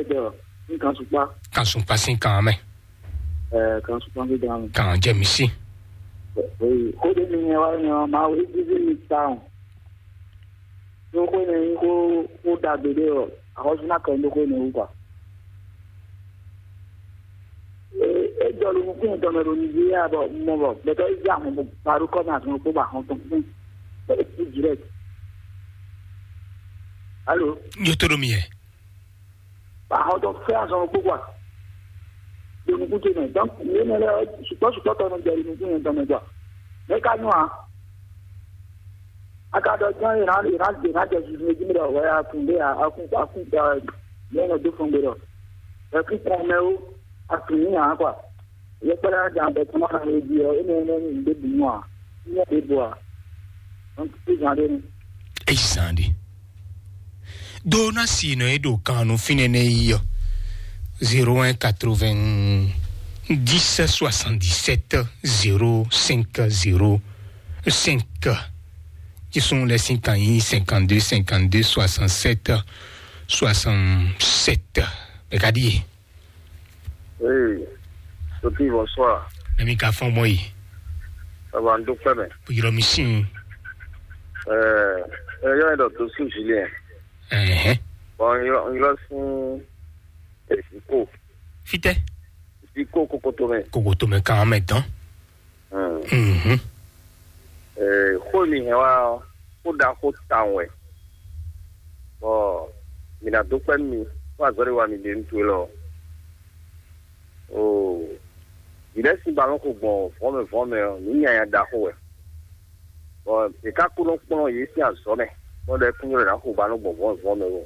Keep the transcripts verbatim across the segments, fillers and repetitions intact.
Ɖɔ ní kan sukpá. Kan sukpá sín kan mɛ. Ɛ kan sukpá sín kan mɛ. Kan jɛ mi sí. Oyi, xó ɖé mi nyɛ wá nyɔ ma wí bíbí mi ta o. Ní xó ne nyí xó xó ɖagbe ɖé ɔ, axɔ́sú ná kɛ ní xó ne wú kpa. E jɔ ɖo nukún yɛn tɔn mɛ ɖo Nigeria bɔ mɔ bɔ gbɛtɔ yi zé ahɔn bɔ gbaɖó kɔ mɛ azɔn kpó ba ahɔn tɔn kpó bɔ é kú direct. Alo. Yo to ɖo mi yɛ. Ba ahɔn tɔn fɛ azɔn kpó kwa. Ɖo nukún ce mɛ, donc yé mɛ lɛ sukpɔ sukpɔ tɔn nɔ jɛ ɖo nukún yɛn tɔn mɛ kwa. Mɛ ka nyɔ a? Aka ɖɔ jɔn yě ná yě ná yě ná jɛ zuzu jí mi ɖɔ wɛ akun ɖé akun akun yě nɔ dó fún gbe ɖɔ ɛ kú kɔn mɛ ó akun ní yàn kɔ yě kpɛɖɛ ná jan bɛ kɔn ná yě jí ɔ é nɛ nɛ ní ɖé bu nú a ní ɖé bu a ɔn tí zan ɖé nu. Eyi zan ɖe. Do ná si nɔ e ɖo kan nu fínɛ́ nɛ yi ɔ. Zéro un quatre-vingt-dix soixante-dix-sept zéro cinq zéro cinq. Jésù lɛ sín kan yín cinquante-deux cinquante-deux soixante-sept soixante-sept. Bɛ ka ɖíe. Ee, Sophie, bonsoir. Mɛ mi ka fɔn mɔ yi. Baba n dúpẹ́ mɛ. Yɔrɔ mi sin. Ɛɛ, ɛ yɔ ɛ dɔ to sun Julien. Ɛhɛn. Bon, n yɔ n yɔ sun Ziko. Fitɛ. Ziko kokoto mɛ. Kokoto mɛ kan mɛ dán. Mhm. Ee, xó e mi hɛn wá ɔ́, xó ɖaxó tawun wɛ. Bɔ mi ná dó kpɛ́ nú mi, xó azɔ̌ ɖé wa mi ɖe nú towe lɔ. Oo, vǐ lɛ́ɛ sín balɔ́n xo gbɔn vɔ̌ mɛ vɔ̌ mɛ ɔ́, nǔ nyanya ɖaxó wɛ. Bɔ è ka kó nɔ kplɔ́n yě sín azɔ̌ mɛ, bɔ ɖɔ é kún nylɔ́ ná xo balɔ́n gbɔn vɔ̌ mɛ vɔ̌ mɛ ó.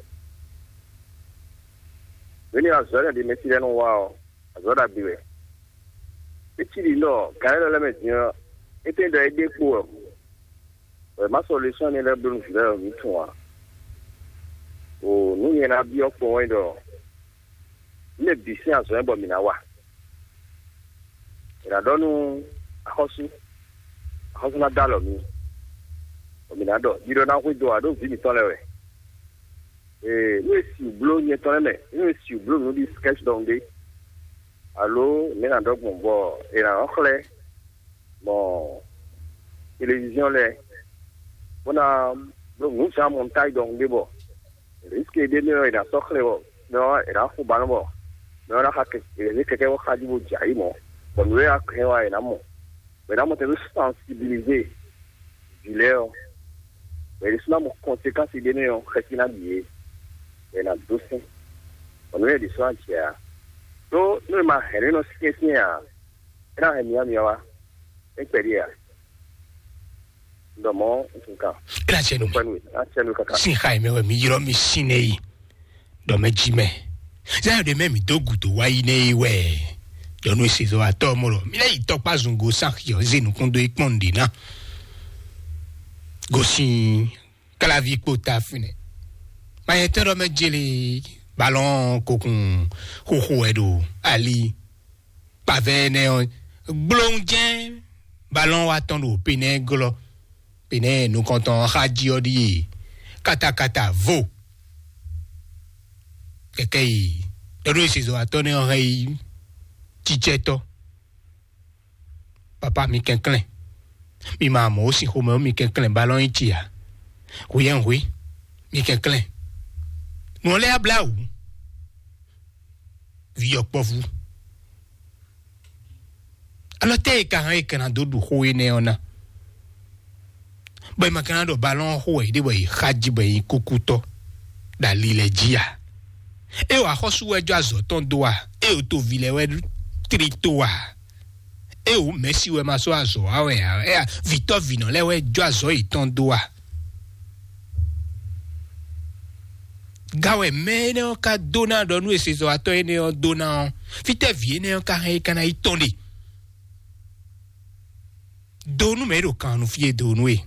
Nǔ énɛ́ azɔ̌ énɛ́ ɖě mɛ cí lɛ́ɛ nɔ wa ɔ́, azɔ̌ ɖagbe wɛ. É cí ɖi ɖɔ gǎn élɔ́ lɛ́ɛ mɛ din ɔ́, étɛ́ ɖɔ é ɖe kpo wɛ hǔn, wɛ má sɔ́ lɛ́sɔ́n énɛ́ lɛ́ɛ bló nú vǐ lɛ́ɛ ɖo nǔ tun ǎ. O nǔ nyɛ ná byɔ́ kpɔ́n wɛ ɖɔ nú mɛ bǐ sín azɔ̌ nyɛ bɔ mǐ ná wa. È nǎ ɖɔ nú axɔ́sú, axɔ́sú ná dó alɔ mì, bɔ mǐ ná ɖɔ ɖiɖɔ ná hwedó ǎ ɖó vǐ mǐtɔn lɛ́ɛ wɛ. Ee, nú è si bló nyɛ tɔn lɛ́ɛ mɛ, nú è si bló nǔ ɖi skɛ́ch ɖɔhun ɖé, alo nɛ̌ nǎ ɖɔ gbɔn bɔ è nǎ nɔ xlɛ́ mɔ televizíɔn lɛ́ɛ, bó ná bló nǔ zán mɔntáj ɖɔhun ɖé bɔ rǐske ɖé mɛ ɔ́, è nǎ sɔ́ xlɛ́ bɔ mɛ ɔ́, è nǎ xo balɔ́n bɔ mɛ ɔ́ ná xa kɛkɛ kɛkɛ bɔ xá jí bó jɛ ayǐ mɔ̌, bɔ nǔ e a hɛn wá è nǎ mɔ. Bɔ è nǎ mɔ tɛn ɖó sensibiliser vǐ lɛ́ɛ ɔ́, bɔ è ɖésú ná mɔ conséquence ɖé nɛ́ ɔ́, xɛsi ná ɖi yě, bɔ è nǎ dó sɛn, bɔ nǔ nyɛ ɖésú ná jɛ ǎ. Ɖó nú è ma hɛn nǔ e nɔ syɛ́nsyɛ́n ǎ, é ná hɛn myámyá wá, é kpɛɖé ǎ. Un ɖɔ mɔ̌, un tunwun kan. É ná jɛ nú mi. Kpɛ́ nú we, é ná jɛ nú we káká. Sín xa e mɛ wɛ mi ylɔ́ mi sín nɛ́ yi. Ɖɔ mɛ jí mɛ. Zayɔn ɖe mɛ mi dó gǔdo wá yi nɛ́ yi wɛ. Ɖɔ nú esezɔ atɔ mɔ ɖɔ mi lɛ́ yi tɔkpá zungo sáxiɔ zé nukún dó yi kpɔ́n nǔɖé ná. Gosín kálaví kpó ta fínɛ. Mayɛtɔ́ ɖɔ mɛ jeli balɔn kokun xoxo wɛ ɖo ali. Kpavɛ énɛ́ ɔ́, gblóhún jɛ́n balɔn wa tɔn ɖo Benɛ́ɛ glɔ́. Benɛ́ɛ nukɔntɔn ɔ́ xá jí ɔ́ ɖíe katakata vo. Kɛkɛ yi ɖɔɖó esezɔwatɔ́ nɛ́ ɔ́ hɛn yi cícɛ́tɔ́. Papa mi kɛnklɛ́n, mi ma mɔ ó sin xomɛ ó mi kɛnklɛ́n balɔn yi ci a? Hweyɛ́nhwe, mi kɛnklɛ́n. Nǔ ɔ́ lɛ́ɛ blá wǔ. Vǐ ɔkpɔ́vú. Alɔ tɛ́ e ka hɛn e ka ná dó ɖu xó énɛ́ ɔ́ ná? Bɔ è ma ka ná ɖɔ balɔn xó wɛ yě ɖe bɔ yě xa jí bɔ yě nyí kúkútɔ́ ɖo ali lɛ́ɛ jí a? É wɔ axɔ́sú wɛ jɔ azɔ̌ tɔn dó a? É wɔ toví lɛ́ɛ wɛ tlí tó a? É wɔ mɛ̌si wɛ ma sɔ́ azɔ̌ wa wɛ a? É a vǐtɔ́ vǐnɔ lɛ́ɛ wɛ jɔ azɔ̌ yětɔn dó a? Ga wɛ mɛ énɛ́ ɔ́ ka dó ná ɖɔ nú esezɔwatɔ́ énɛ́ ɔ́ dó ná ɔ́, fítɛ́ vǐ énɛ́ ɔ́ ka hɛn é ka ná yi tɔn ɖe? Do nú mɛ e ɖo kan nu fí e do nú e.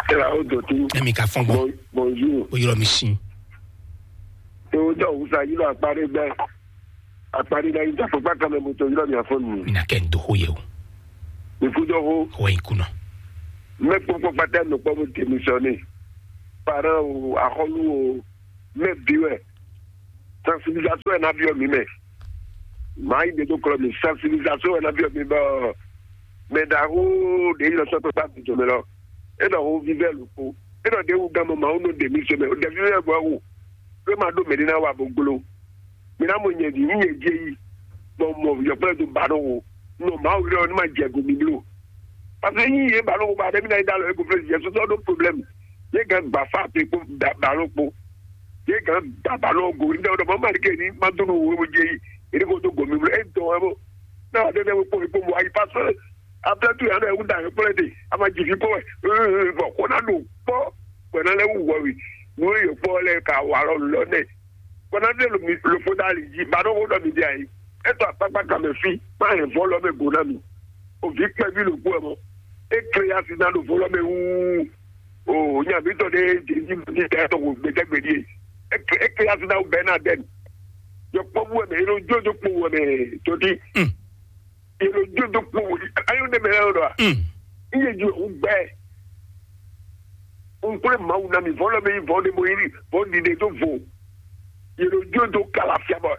Tɛlɛ o do tu. Ɛmi ka fɔn gbɔn. Bonjour. O yɔrɔ mi sin. To dɔ wusa yi lɔ akpa ɖe gbɛ. Akpa ɖe ɖe yi dɔ fɔkpa kan mɛ mo to yi lɔ mi afɔ nu. Mi na kɛ n do xo yɛ o. Mi ku dɔ xo. Xɔ yi kunɔ. Mɛ kpɔkpɔ kpata nɔ kpɔ mo démissionné. Parent o, axɔlu o, mɛ bi wɛ. Sensibilisation wɛ ná byɔ́ mǐ mɛ. Mǎ yi ɖe dó klɔ́ mì, sensibilisation wɛ ná byɔ́ mǐ bɔ mɛ ɖaxó ɖě yi lɔ sɔ́ kpékpé agbějɔ mɛ lɔ, é ɖɔ xó vívɛ́ lǒ kpó. É ɖɔ ɖě wú gán mɔ Mawu nɔ ɖe mǐ sɔ́ mɛ, ɖɛ̌ vívɛ́ bɔ wú, é ma ɖó mɛ̌ ɖé ná wa bó gló. Mi ná mɔ nyɛ ɖi nú nyɛ jí yi, bɔ mɔ yɔkpɔ́ lɛ́ɛ dó ba nɔ wo, nɔ Mawu ylɔ́ ní ma jɛ go mi bló. Parce que yí yě ba nɔ wo ba ɖé mi ná yi dá lɔ é go flé jɛ sɔsɔ ɖó problème. Yě gán gba fá pe kpó ba nɔ kpó. Yě gán gba ba nɔ go ní ɖɔ ɖɔ mɔ ma ɖi ke ní ma dó nɔ wo jɛ yi, é ní ko dó go mi bló. É dɔn wɛ bó. Ná wa ɖé ɖé kpó kpó mo ayi parce que après tout yà ɖɔ é wú da yɔkpɔ́ lɛ́ɛ de, a ma jì fi kpó wɛ. Bɔ kó ná ɖo kpɔ́, kó ná lɛ́ wú wɔ wi. Nú yě kpɔ́ lɛ́ɛ ka wa lɔ lɔ nɛ. Kɔnɔdé lo mi lo fo dali jí ba ɖó xó ɖɔ mi ɖe ayi. Etɔ akpakpa kan mɛ fi, má hɛn vɔ lɔ mɛ go ná mi. O vi kpɛví lo kú ɛ mɔ. E kle asi ná ɖo vɔ lɔ mɛ wúú. O nya mi tɔ ɖe jɛji mi tɛ tɔ ko gbɛtɛ gbɛdie. E kle e kle asi ná o bɛ ná dɛn. Yɔ kpɔ bu ɛ mɛ, e lo jo jo kpo wɛ mɛ tɔti. Yelo dzodo kpo ayɔ ne mɛ yɔ ɖɔ a? Iye ju o gbɛ. Nkplé Mawu na mi vɔ lɔ mi vɔ de mo yiri vɔ di de do vo. Yelo dzodo kala fia bɔ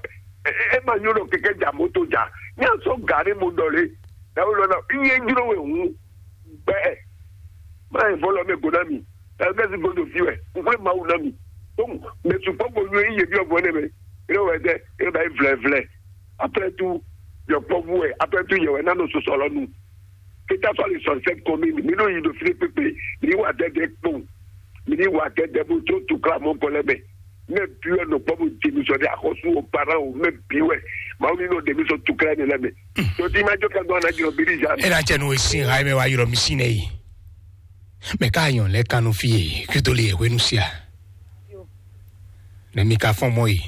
e ma nyɔ ɖɔ keke ja moto ja. Nya sɔ ga ne mo dɔ le. Dawo lɔ na iye juro we hu gbɛ. Ma ye vɔ lɔ mi go na mi. Ɛgbɛsi godo fi wɛ. Nkplé Mawu na mi. Donc, mais tu peux go nyɔ iye bi ɔgbɔn ne mɛ. Ere wɛ dɛ, ere ba yi vlɛ vlɛ. Après tout, yɔkpɔ́vú wɛ, après tout, yɛ wɛ ná nɔ sɔsɔ lɔ nu. Keta sɔ le sɔn sɛ kɔmi, mi nɔ yi do fi kpekpe, mi wa dɛdɛ kpɔn, mi ni wa dɛdɛ bo tso tukla mɔ kɔ lɛ mɛ. Mɛ bi wɛ nɔ kpɔ bo jɛ mi sɔ de axɔsu o para o, mɛ bi wɛ, ma ni nɔ de mi sɔ tukla ne lɛ mɛ. Tɔti ma jɔ ka gbɔ na jɔ biri ja. E na cɛ nu e sin ha e mɛ wa yɔrɔ mi sin ne yi. Mɛ ka yɔn lɛ kanu fi ye, kito le ye hwenu sia. Ne mi ka fɔn mɔ yi.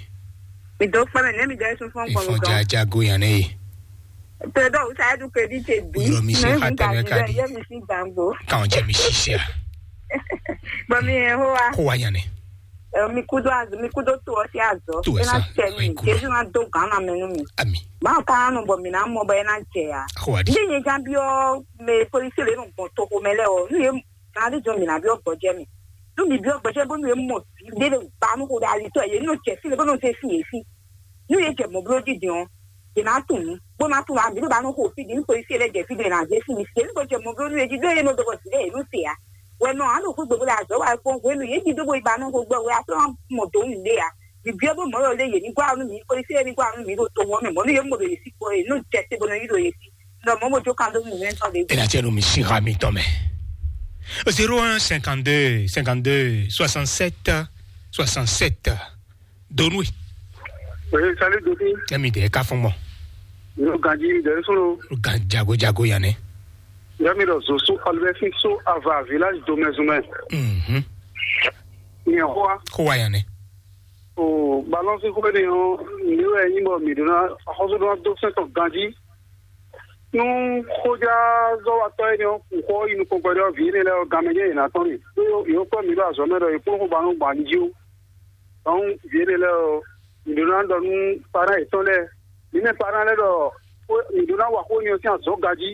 Mi dó kpɛmɛ ne mi dɛ sun fɔn kɔmi Ifɔn dɔn. Jaja go yan ne yi. Tɛ dɔ usa edu kedi tse bi. Yɔrɔ mi se Ne ha mi tɛ ka mɛ di ka dɛ di. Ye mi si gbangbo. Kan jɛ mi sisi a. Bɔn mi yɛ ho wa. Ko wa yan ne. Ɛ, mi kudo azɔ, mi kudo to ɔsi azɔ. To ɛ Ena sa, tɛ mi. Kudo. Jesu na do gan na mɛ nu mi. Ami. Ba ka nu bɔ mi na mɔ bɔ ena tse ya. Ko wa di. Ndi nye jan bi ɔ me polisi le nu gbɔn to ko mɛ lɛ ɔ. Nu ye Kan ɖe jɔ mi na byɔ́ gbɔjɛ mɛ. Nú mi byɔ́ gbɔjɛ bónú yě mɔ ɖé ɖe gba nú xo ɖe alitɔ yě nɔ jɛ fí lě bó nɔ zé fí yě fí. Nú yě jɛ mɔ̌ bló jí din ɔ́, yě ná tunwun bó ná tunwun abǐ ɖo ba nɔ xo fí din nú polisi lɛ́ɛ jɛ fí ɖé ná zé fí mi. Yě ní ko jɛ mɔ̌ bló nú yě jí ɖó yě nɔ dɔbɔ zǐ ɖé yě nú se ǎ. Wɛ nɔ á ɖo xwé gbogbo ɖe azɔ̌ wa kpɔ́n hwenu yě jí dó bó yi ba nɔ xo gbɔ wɛ á sɔ́ mɔ dǒ nǔ ɖé ǎ. Vǐ byɔ́ bó mɔ̌ ɖɔ lé yě ní gwa nú mi, polisi lɛ́ɛ ní gwa nú mi ɖo to wɔn mɛ mɔ̌ nú yě mɔ ɖo yě sí kpɔ́ yě nɔ jɛ te bó nɔ yí ɖo yě sí. Nɔ mɔ̌ mo jó kan dó nú mi mɛ tɔn ɖě. Ena tse no mi si ha mi tɔn mɛ. Zéro un cinquante-deux cinquante-deux soixante-sept soixante-sept. Donwe. Oui, salut Dopi. Emi de ka fɔn mɔ. Yo ganji de solo. Gan jago jago yanɛ. Yami do zo so albe fi so ava village do mezumɛ. Mhm. Ni hoa. Ko wa yanɛ. O balance ko ni o ni we ni mo mi dona hoso do do sento ganji. Nú xójázɔ́watɔ́ énɛ́ ɔ́ kun xó ɔ́ yi nukɔn kpɛɖé ɔ́, vǐ énɛ́ lɛ́ɛ ɔ́, ganmɛ jɛ́n yě ná tɔ́n mì. Ɖó yě ko mi ɖó azɔ̌ mɛ ɖɔ yě kplɔ́n xó ba nɔ gbɔn ali jí ó. Dɔnku vǐ énɛ́ lɛ́ɛ ɔ́, mǐ ɖó ná ɖɔ nú parán yětɔn lɛ́ɛ. Mǐ mɛ parán lɛ́ɛ ɖɔ mǐ ɖó ná wa xó énɛ́ ɔ́ sín azɔ̌ gají,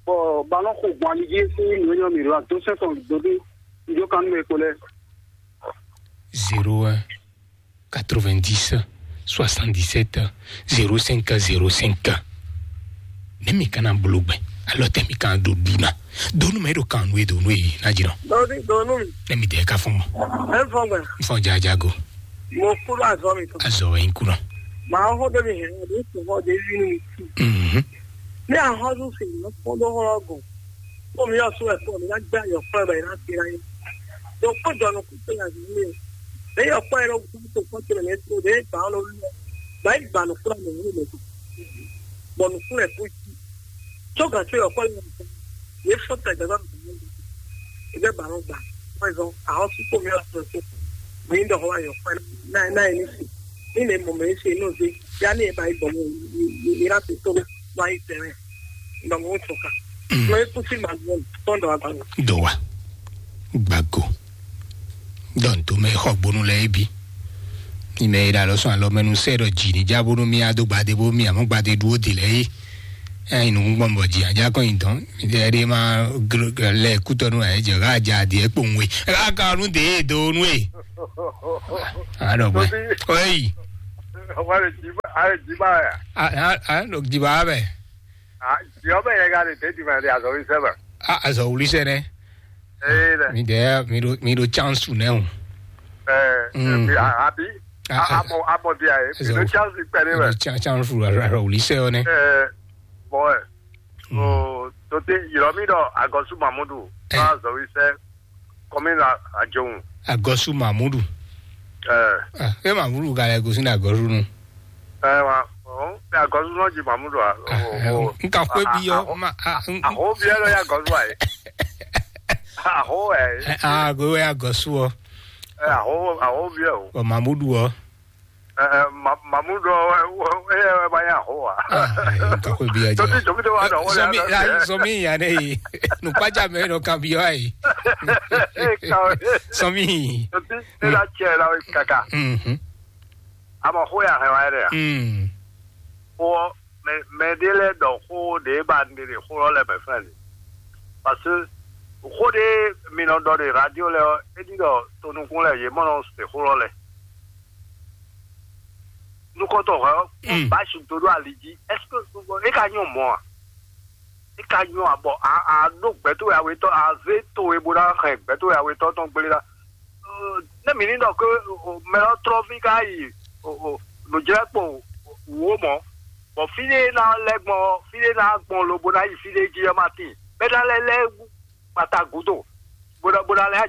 bɔ ba nɔ xo gbɔn ali jí sín nǔ énɛ́ ɔ́, mǐ ɖó ná dó sɛ́n tɔn dó dó mi jó kan nú mɛ e kpo lɛ́ɛ. Zéro un quatre-vingt-dix soixante-dix-sept zéro cinq zéro cinq. Ne mi kana blogbe, alɔ tɛ mi kan do duna. Donu mɛ do kan nue donu e na jira. Donu, donu. Ne mi de ka fɔn. E fɔn gbe. Fɔn jajago. Mo kúrò azɔ mi tán. Azɔ wɛ n kúrò. Màá hó débi hẹ̀rẹ́, àbí kò hó débi nínú mi. Mhm. Ní àhọ́dún sì ní kó ló hó ọgùn. Kó mi yọ sún ẹ̀kọ́ mi, lágbá yọ fún ẹ̀bẹ̀ láti ráyé. Dɔnku kpɔ́ jɔ nukún tó yà zí lé. Bẹ́ẹ̀ yọ kpɔ́ yẹn lọ́wọ́ tó kpɔ́ tó lẹ́yìn tó lé gbà ọ́ lórí lọ. Gbà yín gbà nukún àmì wúlò lẹ́kọ̀ọ́. Bọ̀ nukún rẹ̀ kó jí. Tó gà tó yọ kpɔ́ yẹn nìkan. Yé fọ́ tẹ̀ gbẹ́gbẹ́ mi lọ́wọ́. Ẹgbẹ́ gbà ló gbà. Wọ́n zọ àwọn tí kò mí ọ̀sán tó. Mí ń dọ̀kọ́ wá yọ kpẹ́ náà náà yẹn ní sè. Ní ilé mọ̀mọ́ yẹn ṣe inú ṣe. Yá ní ẹ̀ bá yí bọ̀ mọ́ yìí láti tó wá yí tẹ̀rẹ̀. Ìgbà mọ̀ ó tún kà. Lọ ikú sí màá gbọ́n tọ́ndọ̀ àgbàdo. Dɔwa gbago dɔnto mɛ xɔ gbonu lɛ ebi. Ime yi ɖe alɔ sɔn alɔ mɛ nu sɛ ɖɔ dzi ni dza bonu mi ado gbade bo mi amɔ gbade ɖuwo de lɛ yi. Ɛyin nu gbɔn bɔ dzi adza kɔn yi dɔn. Mi de ɛɖe ma lɛ kutɔ nu ayɛ dze ɣa dza di ekpo nwe ɣa ka nu de do nu e. Alɔ gbɛ. Oyi. Wale Jiba, ale Jiba ya. A a a ɖo Jiba bɛ. A Jiba bɛ yɛ ga de te di ma de azɔ wi sɛ ba. A azɔ wuli sɛ nɛ. Ee dɛ. Mi de mi do mi do chance nɛ o. Ɛɛ Mm. Abi abi. A- a- Abɔ abɔ di a ye. Azɔ- Mi do chance pɛ de Mi bɛ. do cha- chance fu azɔ wuli sɛ o nɛ. Ɛɛ bɔn ɛ. O tote yɔrɔ mi dɔ agɔsu Mamudu. Ɛ. Azɔ wi sɛ kɔmi na ajohun. Agɔsu Mamudu. Ɛɛ. Ah, e Mamudu ga lɛ gosi na agɔsu nu. Ɛ wa ɔn ɛ agɔsu nɔ ji Mamudu a. Ah, O- eh, o- n ka xwe a- bi yɔ a- ma ah, n- Aho biɛ lɔ ya agɔsu a ye. Aho ɛ. Eh, ah, go we agɔsu ɔ. Ɛ aho aho biɛ o. Ɔ Mamudu ɔ. Ɛ ɛ Ma- Mamudu ɔ ɛ ɛ ɛ ba ya aho wa. Ah, eh, n ka xwe bi yɔ Tɔti jɔ. Jɔbi de wa dɔ wọlé Sɔmi ya ah, dɔ. Sɔmi ya ne yi. Nukpaja mɛ nɔ kan bi yɔ ayi. Kawe. Sɔmi. Tɔti ne la cɛ la kaka. Mhm. Ama xó ya hɛn wa yɛ dɛ ya. Mm. Xó ɔ́, mɛ mɛ ɖé lɛ́ɛ ɖɔ xó ɖě ba un ɖe ɖe xó ɔ́ lɛ́ɛ mɛ fɛ́n ɖe. Parce que xó ɖé mi nɔ ɖɔ ɖe radio lɛ́ɛ ɔ́, é ɖi ɖɔ tonukún lɛ́ɛ yě mɔ nɔ se xó ɔ́ lɛ́ɛ. Nukɔntɔn hwɛ ɔ́, Mm. Basi do ɖo ali jí. Est-ce que é ka nyɔ mɔ̌ a? É ka nyɔ a bɔ a a ɖó gbɛ̌ towe awetɔ́ a zé towe bó ná hɛn gbɛ̌ towe awetɔ́ tɔn gblé ɖa. Ne mǐ ní ɖɔ ké mɛ ɔ́ trɔ́ví ká yi nǔjlɛ́kpo wǒ mɔ̌, bɔ fí ɖé ná lɛ́ gbɔn ɔ́, fí ɖé ná gbɔn lobo ná yi fí ɖé jí ɔ́ ma tíin. Bɛ́ ná lɛ́ lɛ́ kpata gǔdo, bó ná bó ná lɛ́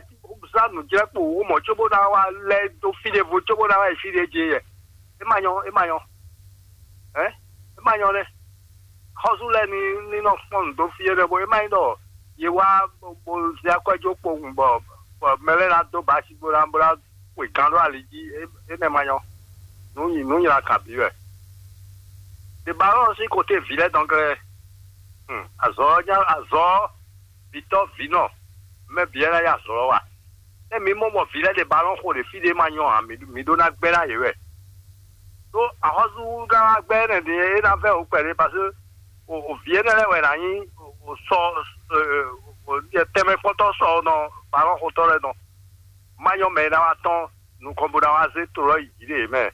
zán nǔjlɛ́kpo wǒ mɔ̌ cóbó ná wá lɛ́ dó fí ɖěvo cóbó ná wá yi fí ɖé jí yɛ. É ma nyɔ́, é ma nyɔ́. Hɛ̌n? É ma nyɔ́ nɛ́. Xɔ́sú lɛ́ɛ ní ní nɔ kpɔ́n nǔ dó fí énɛ́ bó é má nyí ɖɔ yě wá bó zé akwɛ́ jó kpowun bɔ bɔ mɛ lɛ́ɛ ná dó basi bó ná bó ná xwe gán ɖó ali jí. É- énɛ́ ma nyɔ́. Nǔ nyi nǔ nyla kan bǐ wɛ. Ɖe ba ɔ́ sín kote vǐ lɛ́ɛ dɔn glɛ́. Hmm, azɔ̌ ɔ́ nyá azɔ̌ ɔ́, vǐtɔ́ vǐnɔ, mɛ bǐ wɛ ná yá azɔ̌ ɔ́ wa. Nɛ́ mi mɔ mɔ vǐ lɛ́ɛ ɖe balɔ́n xo ɖe fí ɖé ma nyɔ́ ǎ, mi mi ɖó ná gbɛ́ ná yě wɛ. Ɖó axɔ́súɖagbɛ́ énɛ́ din é ná vɛ́ wǔ kpɛɖé, parce que o o vǐ énɛ́ lɛ́ɛ wɛ ná nyí o sɔ tɛnmɛkpɔ́tɔ́ sɔ nɔ balɔ́n xotɔ́ lɛ́ɛ nɔ. Má nyɔ́ mɛ e ná wá tɔ́n nukɔn bó ná wá zé tlɔ́ yi jǐ ɖe yě mɛ.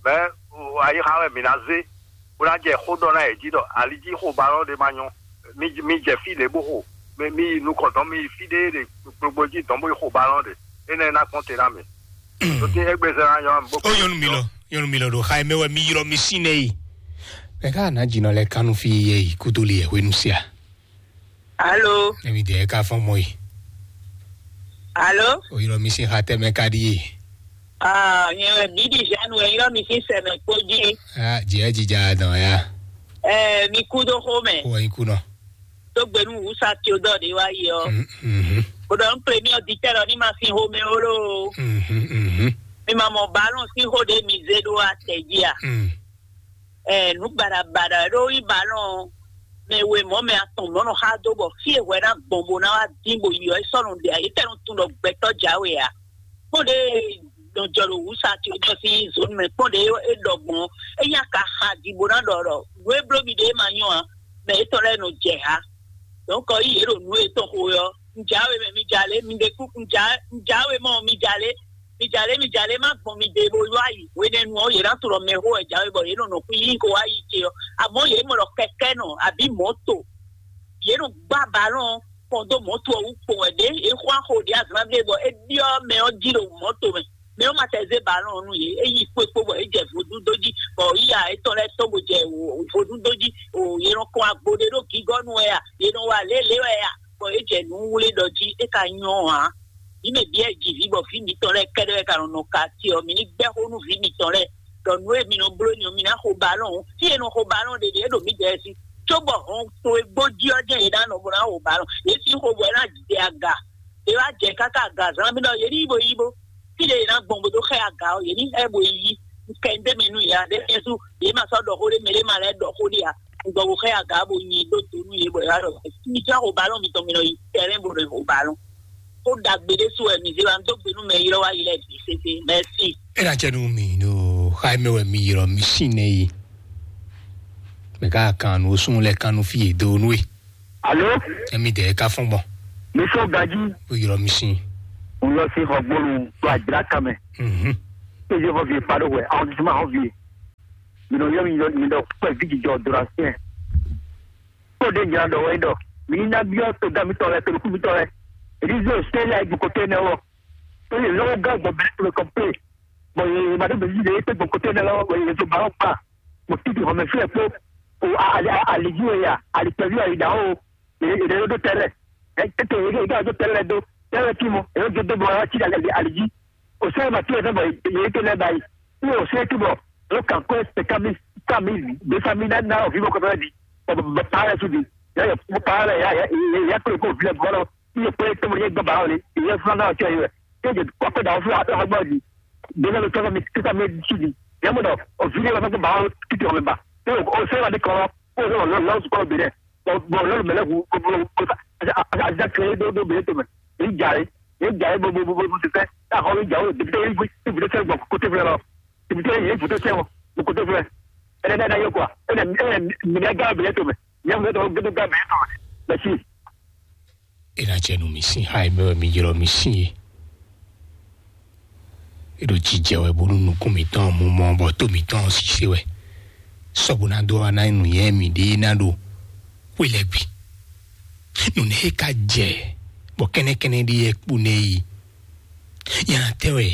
Mɛ ayixa wɛ mǐ ná zé bó ná jɛ xó ɖɔ ná yě jí ɖɔ ali jí xo balɔ́n ɖé ma nyɔ́. Mi mi jɛ fí lě bó xo. Mi mi yi nukɔn dɔn, mi yi fí ɖé ɖe gbogbo jí dɔn bó yi xo balɔ́n ɖe. Énɛ́ ná kpɔ́n te ná mi. Tó tín égbé zɛ ná nyɔ́ bó. Ó nyɔnu mi lɔ, nyɔnu mi lɔ ɖo xa mɛ wɛ mi ylɔ mi sín nɛ yi. Mɛ ká ná jǐnɔ lɛ kánú fí yɛ yi kútó li yɛ hwenu sia. Alo. Emi dɛ ka fɔn mɔ yi. Alo. O ylɔ mi sín xa tɛ mɛ ka ɖi ye. Ah, nyɛ wɛ bíbí Jeanne wɛ ylɔ mi sín sɛmɛ kpó jí. Ah, jɛ jija dɔn ya. Ɛɛ, mi kú dó xó mɛ. Ko wɛ nyi kú nɔ. Tó gbenu wusa tí o dɔ ɖe wá yi ɔ. Mhm. Ko dɔ n premier auditeur ɔ ní ma sin xó mɛ o lo. Mhm, mhm. Mi ma mɔ ballon sín xó ɖe mi zé ɖó atɛ jí a. Mm. Ɛɛ, nǔ baɖabaɖa ɖó yí balɔn mɛ we mɔ̌ mɛ atɔn mɔ̌ nɔ xá dó bɔ fí e hwɛ ná gbɔn bó ná wá dín bó yi ɔ́, é sɔ́ nɔ ɖe ǎ, é tɛ́ nɔ tunwun ɖɔ gbɛtɔ́ jǎwe ǎ. Kpɔ́n ɖě nɔ jɔ ɖo wǔ sa ce jɔ sín zǒnu mɛ, kpɔ́n ɖě é ɖɔ gbɔn ɔ́, é nyí aka xa ji bó ná ɖɔ ɖɔ nǔ e bló mi ɖe é ma nyɔ́ ǎ, mɛ yětɔn lɛ́ɛ nɔ jɛ hǎ. Donc yí yě ɖo nǔ yětɔn xo ɔ́, un jǎwe mɛ mi jalě, mi ɖe kú un jǎ un jǎwe mɔ mi jalě. Mi jalě, mi jalě má gbɔn mi ɖe bó yɔ ayi. Hwenɛ́nu ɔ́, yě ná tlɔ mɛ xó wɛ jǎwe bɔ yě nɔ nɔ kú yí ko wá yi ce ɔ́. Amɔ̌ yě mɔ ɖɔ kɛkɛ́ nɔ abǐ mɔ̌to. Yě nɔ gbá balɔn kɔn dó mɔ̌to ɔ́ wú kpo wɛ ɖě é xwá xo ɖě azǎn ɖé bɔ é byɔ́ mɛ ɔ́ jí ɖo mɔ̌to mɛ. Mɛ ɔ́ ma tɛ zé balɔn ɔ́ nú yě, é yi kpó é kpó bɔ é jɛ vodún dó jí, bɔ yíya étɔn lɛ́ɛ tɔ́n bó jɛ vodún dó jí. O yě nɔ kɔn agbo ɖé ɖó gǐgɔ́nu wɛ a? Yě nɔ wa lě lě wɛ a? Bɔ é jɛ nǔ wlé ɖɔ jí é ka nyɔ́ ǎ. Vǐ mɛ bǐ wɛ ji vǐ bɔ vǐ mitɔn lɛ́ɛ kɛ́ɖɛ́ wɛ ka nɔ nɔ ka ce ɔ́, mi ní gbɛ́ xó nú vǐ mitɔn lɛ́ɛ ɖɔ nǔ e mi nɔ bló ni ɔ́, mi ná xo balɔn ɔ́. Fí e nɔ xo balɔn ɖe ɖě ɖo mǐdɛɛ sí, cóbɔ hɔn towe gbó jí ɔ́ jɛ́n yě ná nɔ bó ná xo balɔn. Yě sín xo bɔ é ná jɛ aga. Yě wá jɛ káká aga zán mì ɖɔ yě ní yi bo yi bo. Fí ɖě yě ná gbɔn bó dó xɛ aga ɔ́, yě ní xɛ bo yi. Un kɛ un dé mɛ nú yě ǎ, ɖě Jezu yě ma sɔ́ ɖɔ xó ɖé mɛ ɖé ma lɛ́ ɖɔ xó ɖé ǎ. Un gbɔ bó xɛ aga bó nyi dó do nú yě bɔ yě wá ɖɔ mi jɛ xo balɔn mitɔn mi nɔ yi tɛlɛn bó nɔ yi xo balɔn. Xó ɖagbe ɖé su wɛ mi zé wa, un dó gbe nú mɛ ylɔ́ wá yi lɛ́ɛ bǐ sésé. Mɛsi. E na cɛ nu mi ɖo xa mɛ wɛ mi ylɔ mi sin nɛ yi. Mɛ ka kan nu sun lɛ kan nu fi e do nu e. Alo. Emi dɛ ka fɔn gbɔn. Mi so gaji. O ylɔ mi sin. N lɔ sí xɔgbónu tó àjìlá kan mɛ. Mhm. Péjé vɔ vie pa ɖó hwɛ, arrondissement hɔn vie. Mi nɔ yɔ mi yɔ mi ɖɔ kpɛ vi jijɔ do la sɛn. Kó ɖe nya ɖɔ wɛ ɖɔ mi ní ná byɔ́ to da mitɔn lɛ, to nukú mitɔn lɛ. Èyí zɔ sɛ la gbɔkɔtɔ nɛ wɔ. Tó yẹ lɔwọ́ gán gbɔ bɛɛ to kɔmpe. Bɔ yɛ ma ɖo bɛzi ɖe yɛ gbɔkɔtɔ nɛ lɔ, bɔ yɛ to ba ɔkpa. Mo titi xɔmɛ fí ɛ kpó. O ali ali ji wɛ ya, ali kpɛvi ali da o. Èdè ló dó tɛlɛ. Ètò èdè èdè àjọ tɛlɛ dó. Tɛlɛ tí mo èdè dó dó bɔ ɔtí ali ali ji. O sɛ ma tí ɛ fɛ bɔ yɛ tó lɛ ba yi. Ní o sɛ tí bɔ o kàn kó ẹsẹ̀ ká mi ká mi gbé ká mi ná ná òfin bɔ kọfẹ di. Bɔ bɔ pa rẹ sùn di. Yà yà pa rẹ yà yà yà kúrò kó òfin lẹ bọ́ lọ. Ní o pé tó mo yẹ gbọ́ bàá o lé. Ìyẹn fúnra náà ọ̀tí ọ̀yẹ́ rẹ̀. Ní o jẹ kọ́kọ́ dà ó fúnra tó ọgbọ́n di. Gbé náà ló tọ́ mi kíkà mi sùn di. Yà mo dọ̀ òfin lẹ wà fẹ́ bàá o títí ọ̀mẹ́ bà. Ní o sẹ́ wà ní kọ́. Ó sọ̀rọ̀ lọ́sùn kọ́ obìnrin. Bɔn lɔlu mɛ lɛ hu azakɛ ɖo ɖo bɛ tɔmɛ. Eyi dza yi eyi dza yi bo bo bo bo ti fɛ. N'a xɔ mi dza wo député yi fi député sɛ gbɔ kote fɛ lɔ. Député yi foto sɛ wɔ kote fɛ. Ɛnɛ n'a yɔ kɔ ɛnɛ ɛnɛ mi n'a ga bɛ tɔmɛ. Nya mi tɔ gɛdɛ ga bɛ tɔmɛ. Mɛsi. Ena cɛ nu mi sin ha yi mɛ wɛ mi ylɔ mi sin ye. Eɖo jijɛ wɛ bónú nukún mǐtɔn mumɔ bɔ tó mǐtɔn sise wɛ. Sɔbu ná dó wá ná nǔnyɛ mǐɖée ná ɖo xwé lɛ́ɛ gbe. Nǔnɛ e ka jɛ bɔ kɛ́nɛkɛ́nɛ ɖé yɛ kpó nɛ yi. Nyana tɛ wɛ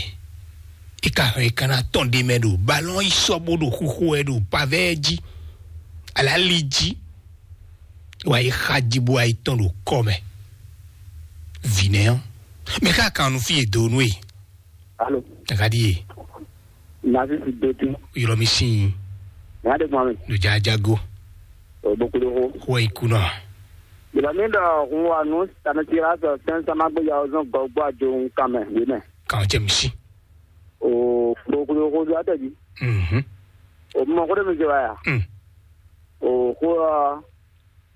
e ka hɛn e ka ná tɔn ɖe mɛ ɖo balɔn yi sɔ bó ɖo xuxu wɛ ɖo pavɛ jí. Alali jí. Wa yi xa jí bó wa yi tɔn ɖo kɔ mɛ. Vǐnɛ ɔ́, mɛ ká kan nu fí e do nú e. Alo. Kaka ɖi e. Nafi si do tí. Yɔrɔ mi sin. Nya de gbɔn mi. Ɖo jajago. O bokolo ko. Xɔ iku nɔ. Yɔrɔ mi ɖɔ hun wa nu sanatira sɔ sɛn sama gbé ya ozɔn gɔgbɔ ajo kan mɛ wí mɛ. Kan jɛ mi si. O bokolo ko do atɛ ji. Mhm. O mɔ ko de mi jɛ wa ya. Mm. O ko.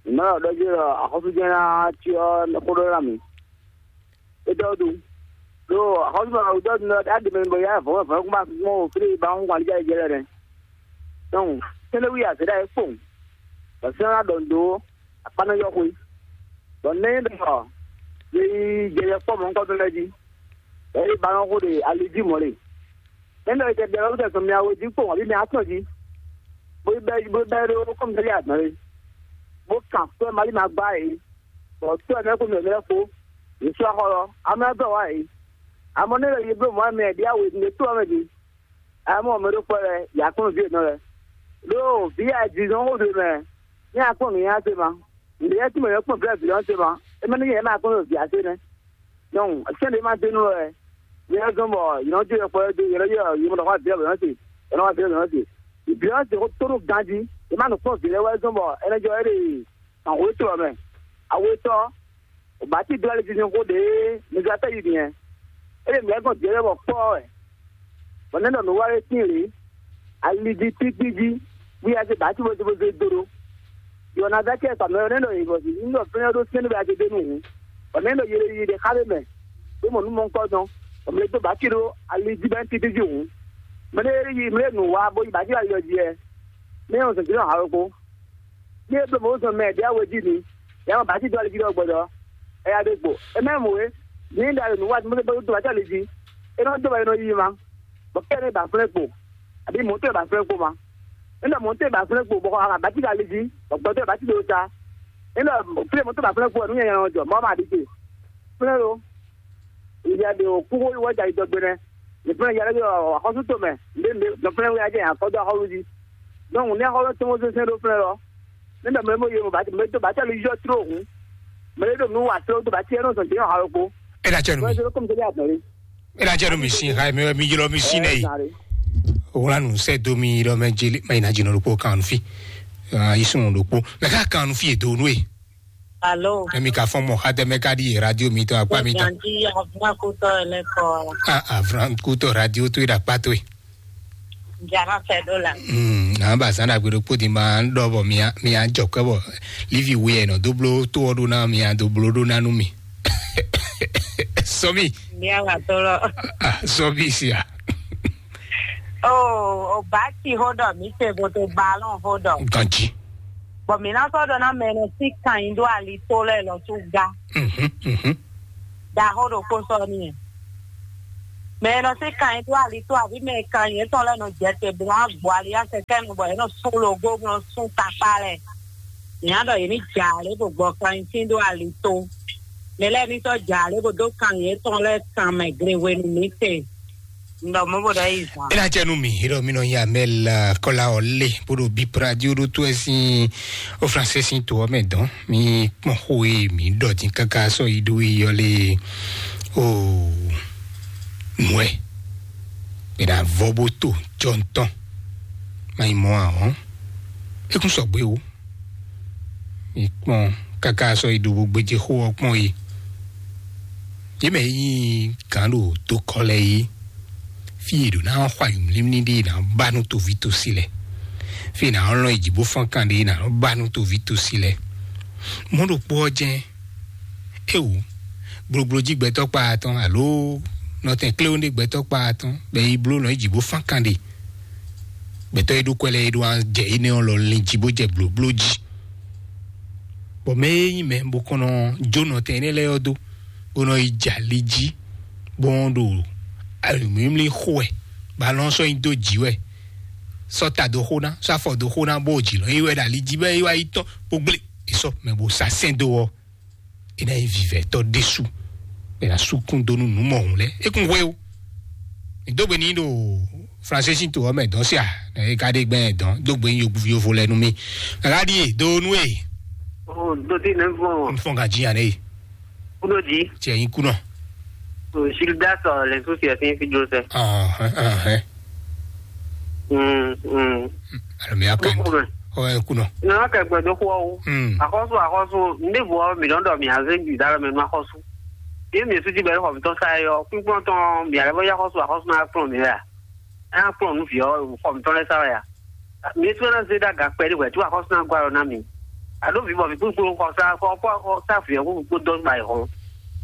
Mɛ ɔ ɖɔ jí ɖɔ axɔ́sújɛ́n ná cyɔ xó ɖɔ ná mì. É ɖɔ ɖu. Ɖo axɔ́sú ma wǔ ɖɔ ɖu ɖɔ ɖá ɖe mɛ bɔ yá vɔ̌ vɔ̌ kún bá mɔ wò flé ba hún alíjá jɛ lɛ nɛ. Donc sɛnɛ wí azě ɖa é kpowun. Bɔ sɛnɛ ná ɖɔ nǔ dó akpá nɔ yɔ xwe. Bɔ nɛ́ ɖɔ yě yi jɛ yɛ kpɔ́ mɔ̌hunkɔtɔn lɛ́ɛ jí. Bɔ é ba nɔ xó ɖe ali jí mɔ̌ ɖe. Nɛ́ ɖɔ yě tɛ ɖɛ lɔ́ tɛ sɔn mia we jí kpowun abǐ mia atɔn jí. Bó bɛ́ bó bɛ́ ɖó kɔ́mudɛ́lí adɔn é. Bó kan sɔ́ Mali ma gbá é. Bɔ sɔ́ ɛ mɛ kó mi ɔ̀mɛ lɛ́ɛ kpó. Yě sú axɔ lɔ. Amɛ ɔ́ dɔn wá é. Amɔ nɛ́ ɖɔ yě bló mɔ̌ mɛ ɖíe awe ɖě tó ɔ́ mɛ ɖě. Amɔ mɛ ɖó kpɔ́ lɛ, yě akpɔ́n vǐ yětɔn lɛ. Ɖó vǐ ya jǐzɔ́n xó ɖé mɛ. Ní akpɔ́n nǔ nyanya ce ma. Nǔɖé yɛ tí mɛ yě kpɔ́n vǐ vǐ ɔ́ ce ma. É mɛ ní yɛ má akpɔ́n vǐ asé nɛ́. Donc sɛ́n ɖé ma dé nú wɛ. Yɛ zɔn bɔ yě nɔ jó yɔkpɔ yɛ dó yě nɔ yɔ yě mɔ ɖɔ xɔ abǐ ɔ́ bǐ nɔ se. Yě nɔ xɔ abǐ ɔ́ bǐ nɔ se. Bǐ nɔ se xó tó nú ganjí. Yě má nɔ kpɔ́n vǐ lɛ́ɛ wɛ zɔn bɔ é nɔ jɔ é ɖe ahwetɔ́ mɛ. Awetɔ́, bǎti dó ali jijɛ xó ɖě mɛglatɛ́ yi nìyɛn. É ɖe mǐ lɛ́ gbɔn vǐ lɛ́ɛ bɔ kpɔ́ wɛ. Bɔ nɛ́ ɖɔ nǔ wa é tín lě. Ali jí tíkpí jí. Wí a se bǎti bó se bó se dó ɖó. Yɔnazakɛ kpa mɛ ɔ́ nɛ́ ɖɔ yě bɔ ní ɖɔ fɛ́nɛ ɖó sɛ́n ɖé bɔ a ce dó nú hǔn. Bɔ nɛ́ ɖɔ yě ɖo yi ɖe xá ɖé mɛ, bó mɔ nǔ mɔ̌hunkɔtɔn, bɔ mɛ e dó bǎki ɖó ali jí bɔ é títíjí hǔn. Mɛ ɖé yi mɛ ɖé nǔ wa bó yi bǎki ali ɔ́ jí wɛ. Mɛ nyɛ zɔn jǐ nɔ ha ɖokpó. Ní e bló mɔ̌ zɔn mɛ ɖě awe jí ni, yě ama bǎki dó ali jí ɖɔ gbɔdɔ. Ɛ ya ɖe gbo. É mɛ mɔ é. Ní ɖa ɖo nǔ wa mɛ ɖé bó dó bǎki ali jí. É nɔ dó bɔ é nɔ yi ma. Bɔ kɛ ní ba flɛ́ kpo. Àbí mɔ̌ tɔn ba flɛ́ kpo ma. Nígbà mɔ̌ tɔn ba flɛ́ kpo bɔ a bá tíka lé jí, bɔ gbɔtɔ́ ba tíka ta. Nígbà flɛ́ mɔ̌ tɔn ba flɛ́ kpo nú nyanya jɔ mɔ̌ ma ɖi te. Flɛ́ lo. Ìyá de o kúkú wá jà ìdɔgbe nɛ. Ní flɛ́ yàrá yọ àkọ́sú tó mɛ. Ndé ndé dɔn flɛ́ wíyá jẹ́ àkọ́dọ́ àkọ́lù jí. Donc ní àkọ́lù tó mọ́ sẹ́sẹ́ ló flɛ́ lọ. Nígbà mẹ́mọ́ yẹ mọ́ bá ti mẹ́ tó bá tẹ̀lé yọ tró òun. Mẹ́ tó nù wà tró tó bá tiẹ̀ náà sọ̀tẹ̀ yàn àròkó. Ela cɛ nu mi. Wọ́n ṣe ló kọ́ mi tẹ́lẹ̀ àtọ̀rí. Ela cɛ nu mi sin ha mi mi yɔrɔ mi sin nɛ yi. Wala nu sɛ do mi yɔrɔ mɛ jeli mɛ yina jinɔ ko kan fi. Ah, isun do ko. Mɛ ka kan fi do nu e. Alo. Mɛ mi ka fɔn mɔ ha tɛ mɛ ka di radio mi tɔ akpa mi tɔ. Yanji avuna kutɔ ele kɔ. Ah, avuna kutɔ radio to ida kpa to e. Jara fɛ do la. Hmm, na ba san da gbe do kpo di ma do bɔ mi a mi a jɔ kɛ bɔ. Livi we e nɔ do blo to o do na mi a do blo do na nu mi. Sɔmi. Ní a wà tó lọ. Ah, sɔmi sia. O, o bá ti hó dɔ mi se bo to balɔn hó dɔ. Ganji. Bɔn mi na sɔ dɔ na mɛ nɔ si kan yin do ali to lɛ lɔ tu ga. Mhm, mhm. Da hó do kó sɔ ni. Mɛ e nɔ sí kan nyi dó ali tó abǐ mɛ e kan nyi yětɔn lɛ́ɛ nɔ jɛ te bó nɔ gbɔ ali ya kɛkɛ nu bɔ yě nɔ sú logo bó nɔ sú takpá lɛ. Nyǎ ɖɔ yě ní jɛ alě bó gbɔ kan nyi sín dó ali tó. Mɛ lɛ́ɛ ní sɔ́ jɛ alě bó dó kan nyi yětɔn lɛ́ɛ kan mɛ gle hwenu mǐ te. Un ɖɔ mɔ̌ bó ɖɔ yí zǎn. É ná jẹ́ nú mì, é ɖɔ mì nɔ nyi amɛ la kɔla ɔ lé bó ɖo bí pradio ɖó tó ɛ sín ó fransé sín to ɔ́ mɛ dɔn. Mi kpɔn xó e mǐ ɖɔ dín káká sɔ́ yi ɖó yi ɔ́ lé o nǔ ɛ. È nǎ vɔ bó to jɔ ntɔn. Má yi mɔ ahɔn. É kún sɔgbe o. Mi kpɔn káká sɔ́ yi ɖo bó gbéjé xó ɔ́ kpɔn yi. Yě mɛ yí gǎn ɖo dokɔ lɛ́ɛ yí. Fí e ɖo ná xɔ ayǐmlímlí ɖé ná ba nú toví tosi lɛ. Fí e ná lɔn yi jǐ bó fɔ́n kan ɖé ná ba nú toví tosi lɛ. Mɔ̌ ɖokpó ɔ́ jɛ́n. Éwú, gblogblo jí gbɛtɔ́ kpa atɔn alo nɔtɛn kléwún ɖé gbɛtɔ́ kpa atɔn bɛ yi bló nɔ yi jǐ bó fán kan ɖé. Gbɛtɔ́ e ɖó kwɛ lɛ́ɛ e ɖó jɛ énɛ́ ɔ́ lɔ lin jí bó jɛ blǒbló jí. Bɔ mɛ e nyí mɛ bó kɔn nɔ jó nɔtɛn énɛ́ lɛ́ɛ ɔ́ dó, bó nɔ yi jɛ ali jí, bó nɔ ɖo mǐmlí xo wɛ, bɔ alɔ sɔ́ nyi dó jǐ wɛ, sɔ́ ta dó xó ná, sɔ́ afɔ dó xó ná, bó jǐ lɔ nyi wɛ ɖo ali jí bɔ é wá yi tɔ́n bó gblé. È sɔ́ mɛ bó sá sɛn dó ɔ́, é ná nyí vivɛtɔ́ ɖésú, bɔ è nǎ sú kún dó nú nǔ mɔhun lɛ́ɛ. É kún hwe ó. Mi dó gbe ní ɖo Fransé sín to ɔ́ mɛ dɔn sia, nɛ é ka ɖe gbɛn dɔn dó gbe ní yovo lɛ nú mi. Kaka ɖíe dó nú e. Oh, dodi ne vɔn. N fɔn ka jí yan ne. Kudo di. Tiɛ yin kunɔ. Oh, Gildas, uh, les soucis à signifier Joseph. Ah, ah, ah. Mm, mm. Alors, mais après, oh, kunɔ. Nana kɛ gbɛdó xó ɔ́ wú. Hmm. Axɔ́sú, axɔ́sú, ndévo ɔ́, mǐ nɔ ɖɔ mǐ azé gbǐ dá lɔ mɛ nú axɔ́sú. Yé mǐ sú jí bɛ́ xɔ mǐtɔn sa é ɔ́, kpínkpɔ́n tɔn mǐ alɛ bɔ yá axɔ́sú, axɔ́sú ná kplɔ́n mǐ wɛ a? É ná kplɔ́n nú vǐ ɔ́, xɔ mǐtɔn lɛ́ɛ sa wɛ a? Mǐ sú ná zé dó aga kpɛɖé hwɛ̌ tú axɔ́sú ná gɔ́ alɔ ná mǐ. Aɖó vǐ bɔ vǐ kúkú xɔ sá xɔ xɔ sá vǐ ɔ́ kúkú kpó dɔn ba yi hɔn.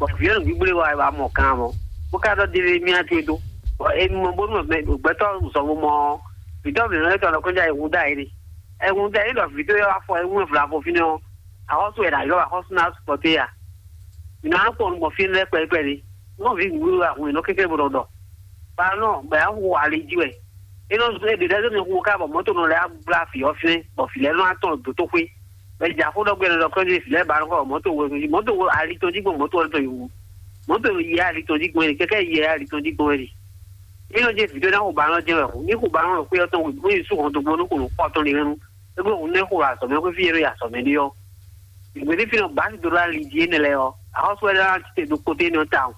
Bɔ vǐ ɔ́ nǔgbígbó wa wá mɔ kan mɔ. Bó ká ɖɔ délé mí ná tlé dó. Bɔ e mɔ bónú mɛ gbɛtɔ́ zɔn bo mɔ ɔ́, vǐtɔ́ mǐ nɔ lɛ́ tɔn kɔn ja yi wu dá yi ɖe. Ɛ wu dá yi ɖɔ vǐ tó yɔ afɔ ɛ wu vla ko fínɛ́ ɔ́, axɔ́sú wɛ ɖo ayɔ axɔ́sú ná sukpɔté ya. Mǐ nɔ kpɔn nukpɔn fí lɛ́ɛ kpɛɖé kpɛɖé. Nɔ vǐ nǔgbígbó wa hun è nɔ kéké bo ɖɔ ɖɔ. Ba nɔ bɛ ya hu ali jí wɛ. É nɔ zɔ́n é ɖě lɛ́ɛ zɔ́n mi hu ká bɔ mɔ̌to nɔ lɛ́ gbla fǐ ɔ́ fínɛ́, bɔ fǐ lɛ́ɛ nɔ atɔn dǒtoxwé. Bɛ jɛ axó ɖɔ gbɛ́nɛ ɖɔ kɔ́ ɖi lɛ́ɛ ba nɔ kɔ mɔ̌to we jí mɔ̌to we ali tɔn jí gbɔn mɔ̌to ɔ́ tɔn yi wu. Mɔ̌to yi ali tɔn jí gbɔn wɛ kɛkɛ yi ali tɔn jí gbɔn wɛ. Ní nɔ jẹ́ vǐdó ná xo ba nɔ jẹ́ wɛ xo ní xo ba nɔ xwé ɔ́ tɔn wɛ ní su hɔn dɔgbɔn ní xo nɔ kpɔ tɔn ní hɛn nu. Égbe xo ní xo azɔ̌ mɛ xwé fí yɛ nɔ yi azɔ̌ mɛ ɖé ɔ́. Ìgbésí fi nɔ bǎ si dó ɖó ali jí énɛ́ lɛ́ɛ ɔ́, axɔ́sú wɛ ɖɔ ná tite ɖo koté nɔ tawun.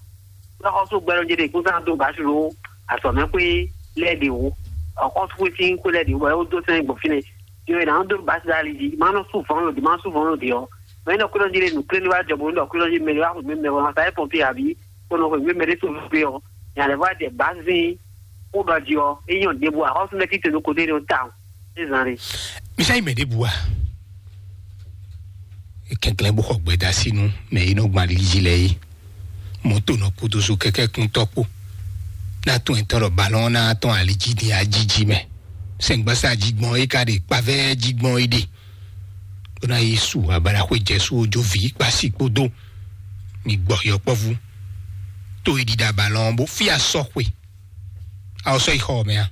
Lɔ xɔsú gbɛɖɔ jɛ ɖe kúnsan dó basi ɖo azɔmɛ xwé lɛ ɖe wò. Xɔsú xwé sín xwé lɛ ɖe wò bɔ é dó sɛn gbɔn fínɛ. Yɔ ɛ nà dó basi ɖo ali jí, má nɔ sú vɔn lòdì, má sú vɔn lòdì ɔ. Mɛ nɔ kúrò jɛ ɖe nù kúrò ní wá jɔ bó nɔ kúrò jɛ mɛ wá xwé mɛ wá sa é pɔnpi àbí kó nɔ xwé mɛ ɖé tó gbé ɔ. Nya lɛ vɔ jɛ basi kó ɖɔ jí ɔ, é nyɔ ɖěbù axɔsú lɛ títɛ ɖo kote ɖo tawun. É zan ɖe. Misa yi mɛ ɖěbù a? Kɛnklɛn bó xɔ gbɛdásínú mɛ yi nɔ gbɔn ali jí lɛ yi. Mɔto nɔ kpódó so kɛkɛ kúntɔ kpó. Ná tún ɛtɔn ɖɔ balɔn ná tɔn ali jí ní ajiji mɛ. Sɛngbasa jí gbɔn é ka ɖe kpavɛ jí gbɔn é ɖe. Bó ná yi su abala xwé jɛ su ojo vi kpasi kpódó. Mi gbɔ yɔkpɔvu. Tó yi ɖiɖa balɔn bó fia sɔ xwe. Awo sɔ yi xɔ mɛ a?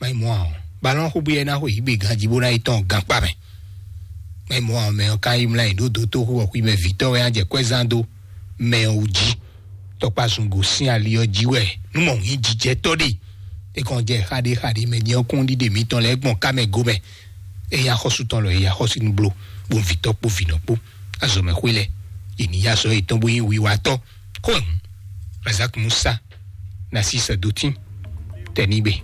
Má yi mɔ a? Balɔn xó bóyá ná xo yi gbé ganjí bó ná yi tɔn gankpá mɛ. Má yi mɔ a? Mɛ ɔ́ ká yi mlá yi ɖó dó tó xó ɔ́ xwí mɛ vǐtɔ́ wɛ á jɛ kwɛ́zán dó mɛ ɔ́ wú jí. Tɔkpá zungo sín ali ɔ́ jí wɛ nú mɔ hín jijɛtɔ́ ɖe. É kàn jɛ xaɖé xaɖé mɛ nyɛ ɔ́ kún ɖiɖe mǐtɔn lɛ́ɛ gbɔn ká mɛ gomɛ. Éyí axɔ́sú tɔn lɔ éyí axɔ́sú ní bló bó vǐtɔ́ kpó vǐnɔ kpó. Azɔ̌ mɛ xwé lɛ́ɛ yě ní yá azɔ̌ yětɔn bó nyí wiwatɔ́. Xó ɛ̀hún. Razak Musa, Narcisse Dotin, Tɛnígbe.